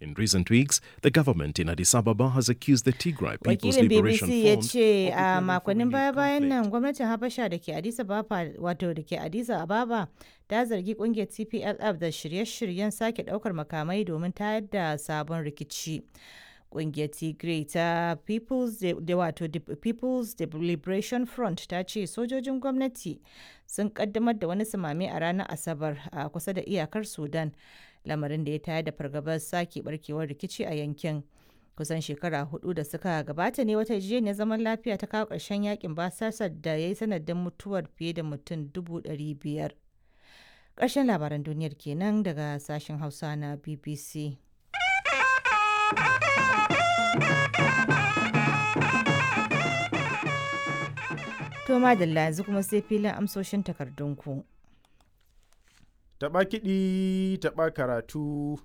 In recent weeks, the government in Addis Ababa has accused the Tigray People's Wakilin Liberation BBC ya Front ce of a preparing for makonnin renewed baya-bayan conflict. nan gwamnatin Habasha da ke Addis Ababa wato da ke Addis Ababa ta zargi kungiyar TPLF da shirye-shiryen sake daukar makamai domin tayar da sabon rikici. Kungiyar Tigray ta People's da wato People's Liberation Front ta ce sojojin gwamnati sun kaddamar da wani sumame a ranar Asabar a kusa da iyakar Sudan, lamarin da ya tayar da fargabar sake barkewar rikici a yankin. Kusan shekara 4 da suka gabata ne wata yarjejeniyar zaman lafiya ta kawo ƙarshen yakin basasar da ya yi sanadin mutuwar fiye da mutum 500,000. Ƙarshen labaran duniyar kenan daga sashen Hausa na BBC. To madalla, yanzu kuma sai filin amsoshin takardunku. Taɓa kiɗi, taɓa karatu,